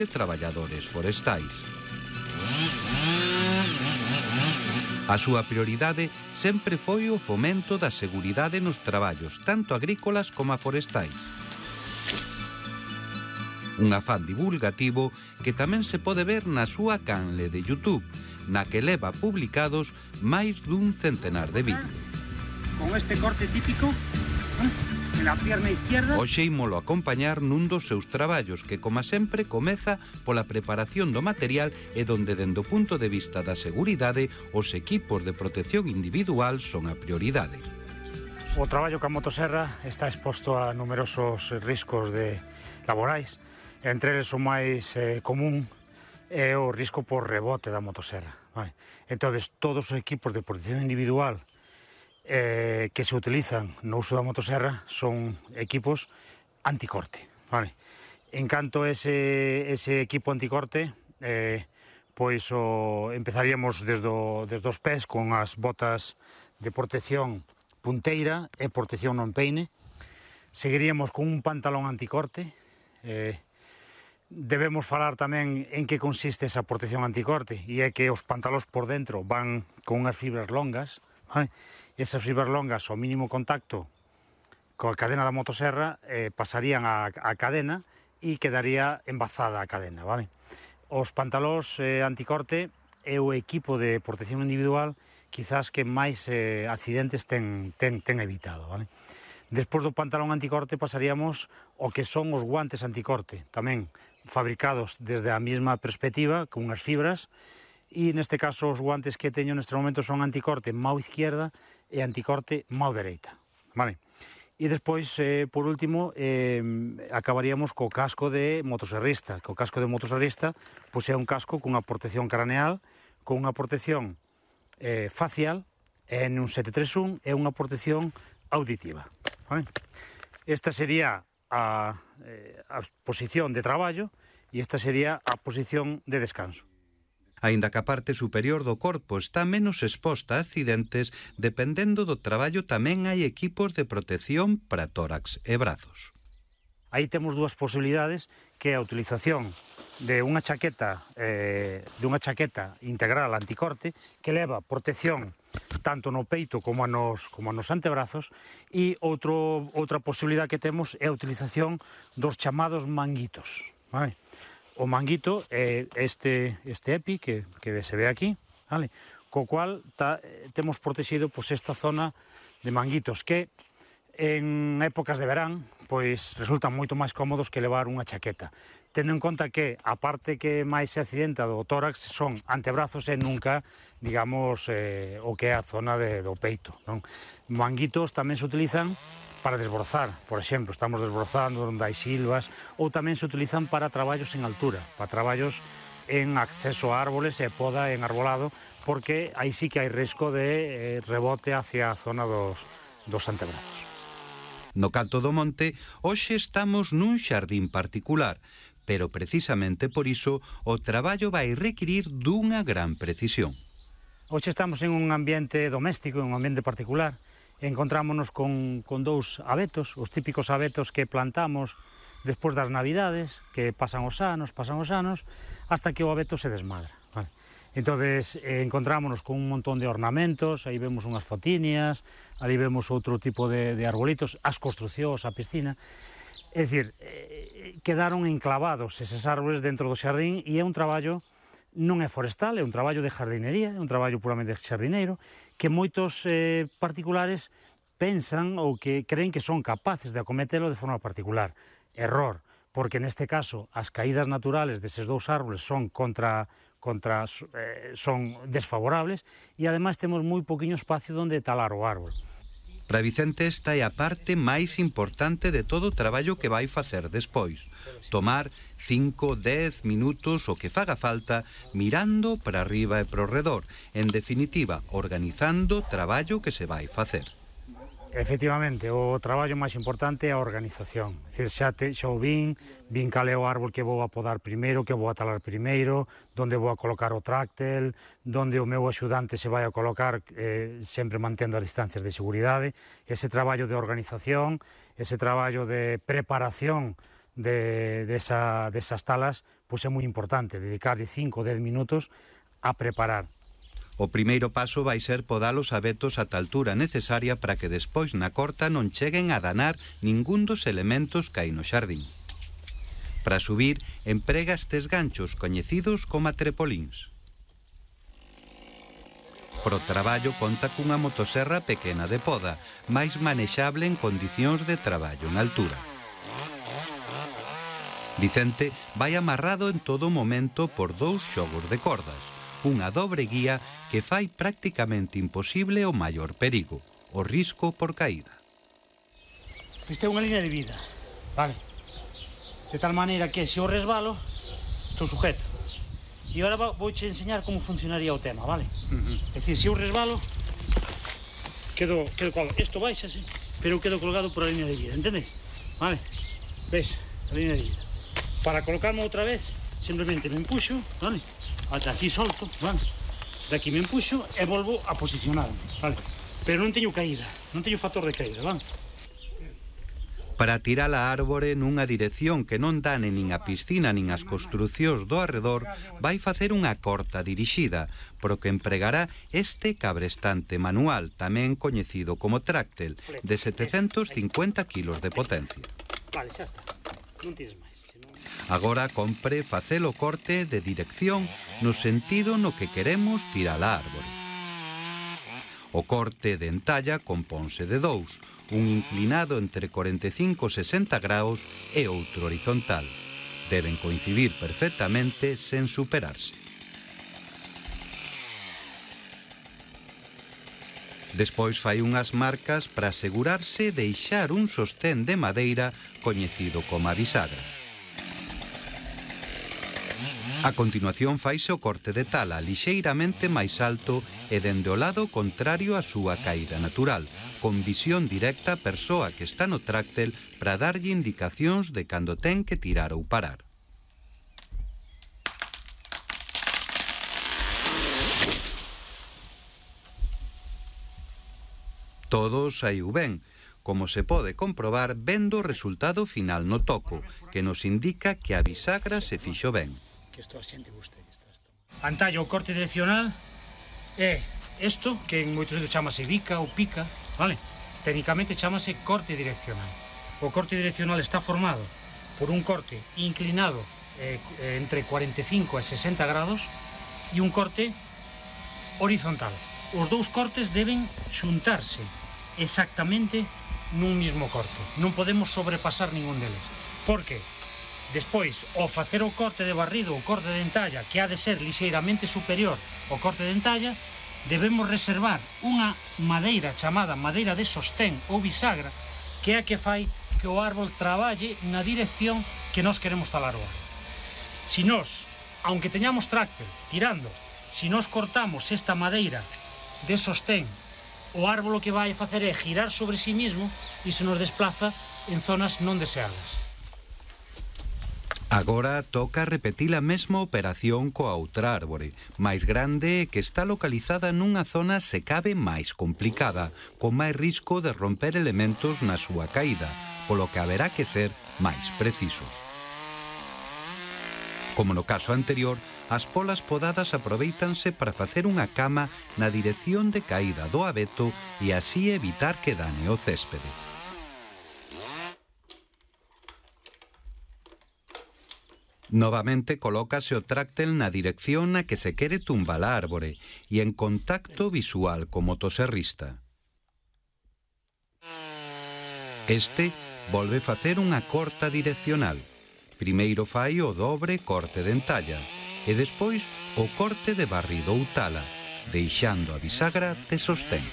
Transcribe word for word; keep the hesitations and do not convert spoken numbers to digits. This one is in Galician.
e traballadores forestais. A súa prioridade sempre foi o fomento da seguridade nos traballos, tanto agrícolas como forestais. Un afán divulgativo que tamén se pode ver na súa canle de YouTube, na que leva publicados máis dun centenar de vídeos. Con este corte típico, en la pierna izquierda... Hoxe ímolo acompañar nun dos seus traballos que, como sempre, comeza pola preparación do material e donde, dende o punto de vista da seguridade, os equipos de protección individual son a prioridade. O traballo ca motoserra está exposto a numerosos riscos de laborais. Entre eles o máis eh, común é o risco por rebote da motoserra. Vale? Entón, todos os equipos de protección individual Eh, que se utilizan no uso da motoserra son equipos anticorte, vale? En canto ese, ese equipo anticorte, eh, pois o, empezaríamos desde, o, desde os pés con as botas de protección punteira e protección no empeine. Seguiríamos con un pantalón anticorte. Eh, debemos falar tamén en que consiste esa protección anticorte, e é que os pantalóns por dentro van con unhas fibras longas, vale? Esas fibras longas, ao mínimo contacto coa cadena da motoserra, eh, pasarían a, a cadena e quedaría embazada a cadena, vale? Os pantalóns eh, anticorte é o equipo de protección individual quizás que máis eh, accidentes ten, ten, ten evitado, vale? Despois do pantalón anticorte pasaríamos ao que son os guantes anticorte, tamén fabricados desde a mesma perspectiva, con unhas fibras, e neste caso os guantes que teño neste momento son anticorte mão izquierda e anticorte mão dereita, vale? E despois, eh, por último, eh, acabaríamos co casco de motoserrista, que o casco de motoserrista pois é un casco cunha protección craneal, con unha protección eh, facial, N un sete tres un, e unha protección auditiva, vale? Esta sería a, eh, a posición de traballo e esta sería a posición de descanso. Aínda que a parte superior do corpo está menos exposta a accidentes, dependendo do traballo tamén hai equipos de protección para tórax e brazos. Aí temos dúas posibilidades, que é a utilización de unha chaqueta, eh, de unha chaqueta integral anticorte, que leva protección tanto no peito como nos, como nos antebrazos, e outro, outra posibilidade que temos é a utilización dos chamados manguitos, vale? O manguito é este, este EPI que, que se ve aquí, vale? Co cual ta, temos protegido pois, esta zona de manguitos que en épocas de verán pois resultan moito máis cómodos que levar unha chaqueta. Tendo en conta que a parte que máis se accidenta do tórax son antebrazos e nunca, digamos, eh, o que é a zona de, do peito, non? Manguitos tamén se utilizan para desbrozar, por exemplo, estamos desbrozando onde hai silvas, ou tamén se utilizan para traballos en altura, para traballos en acceso a árboles e poda en arbolado, porque aí sí que hai risco de eh, rebote hacia a zona dos, dos antebrazos. No canto do monte, hoxe estamos nun xardín particular, pero precisamente por iso o traballo vai requirir dunha gran precisión. Hoxe estamos en un ambiente doméstico, en un ambiente particular. Encontrámonos con, con dous abetos, os típicos abetos que plantamos despois das navidades, que pasan os anos, pasan os anos, hasta que o abeto se desmadra, vale? Entonces, eh, encontrámonos con un montón de ornamentos, aí vemos unhas fotinias, ali vemos outro tipo de, de arbolitos, as construcións, a piscina. É dicir, eh, quedaron enclavados eses árboles dentro do xardín e é un traballo non é forestal, é un traballo de jardinería, é un traballo puramente xardineiro, que moitos eh, particulares pensan ou que creen que son capaces de acometelo de forma particular. Error, porque neste caso as caídas naturales deses dous árboles son contra, contra eh, son desfavorables e ademais temos moi poquinho espacio onde talar o árbol. Para Vicente esta é a parte máis importante de todo o traballo que vai facer despois. Tomar cinco, dez minutos o que faga falta mirando para arriba e para o redor. En definitiva, organizando o traballo que se vai facer. Efectivamente, o traballo máis importante é a organización. É dicir, xa, te, xa o vin, vin cal é o árbol que vou a podar primeiro, que vou a talar primeiro, donde vou a colocar o tráctel, donde o meu axudante se vai a colocar, eh, sempre mantendo as distancias de seguridade. Ese traballo de organización, ese traballo de preparación de, de esa, desas talas, pois é moi importante dedicarlle cinco ou dez minutos a preparar. O primeiro paso vai ser podar os abetos ata a altura necesaria para que despois na corta non cheguen a danar ningún dos elementos que hai no xardín. Para subir, emprega estes ganchos coñecidos como trepolíns. Pro traballo conta cunha motoserra pequena de poda, máis manexable en condicións de traballo en altura. Vicente vai amarrado en todo momento por dous xogos de cordas, unha dobre guía que fai prácticamente imposible o maior perigo, o risco por caída. Esta é unha línea de vida, vale? De tal maneira que se eu resbalo, estou sujeto. E agora vou te enseñar como funcionaría o tema, vale? Uh-huh. É dicir, se eu resbalo, quedo, quedo colgado. Isto baixase, pero eu quedo colgado por a línea de vida, entendes? Vale? Ves, a línea de vida. Para colocarme outra vez, simplemente me empuxo, vale? Ata aquí solto, vale? De aquí me empuxo e volvo a posicionarme, vale? Pero non teño caída, non teño factor de caída, vale? Para tirar a árbore nunha dirección que non dane nin a piscina nin as construcións do arredor, vai facer unha corta dirixida, pro que empregará este cabrestante manual, tamén coñecido como tráctel, de setecentos cincuenta kilos de potencia. Vale, xa está, non tires máis. Agora compre facer o corte de dirección no sentido no que queremos tirar a árbore. O corte de entalla compónse de dous, un inclinado entre cuarenta e cinco e sesenta graus e outro horizontal. Deben coincidir perfectamente sen superarse. Despois fai unhas marcas para asegurarse de deixar un sostén de madeira coñecido como a bisagra. A continuación faise o corte de tala lixeiramente máis alto e dende o lado contrario á súa caída natural, con visión directa á persoa que está no tráctel para darlle indicacións de cando ten que tirar ou parar. Todo saiu ben, como se pode comprobar vendo o resultado final no toco, que nos indica que a bisagra se fixo ben. Que isto a xente guste. Antalla, o corte direccional é isto, que en moitos sitios chamase bica ou pica, vale? Técnicamente chamase corte direccional. O corte direccional está formado por un corte inclinado eh, entre cuarenta e cinco e sesenta grados e un corte horizontal. Os dous cortes deben xuntarse exactamente nun mismo corte. Non podemos sobrepasar ningún deles. Por que? Despois, ao facer o corte de barrido ou corte de entalla, que ha de ser lixeiramente superior ao corte de entalla, debemos reservar unha madeira chamada madeira de sostén ou bisagra, que é a que fai que o árbol traballe na dirección que nós queremos talar o árbol. Si nós, aunque teñamos tráctor tirando, si nós cortamos esta madeira de sostén, o árbol o que vai facer é girar sobre si mismo e se nos desplaza en zonas non deseadas. Agora toca repetir a mesma operación coa outra árbore, máis grande e que está localizada nunha zona se cabe máis complicada, con máis risco de romper elementos na súa caída, polo que haberá que ser máis precisos. Como no caso anterior, as polas podadas aprovéitanse para facer unha cama na dirección de caída do abeto e así evitar que dane o céspede. Novamente colócase o tráctel na dirección na que se quere tumbar a árbore e en contacto visual co motoserrista. Este volve facer unha corta direccional. Primeiro fai o dobre corte de entalla e despois o corte de barrido ou tala, deixando a bisagra de sostén.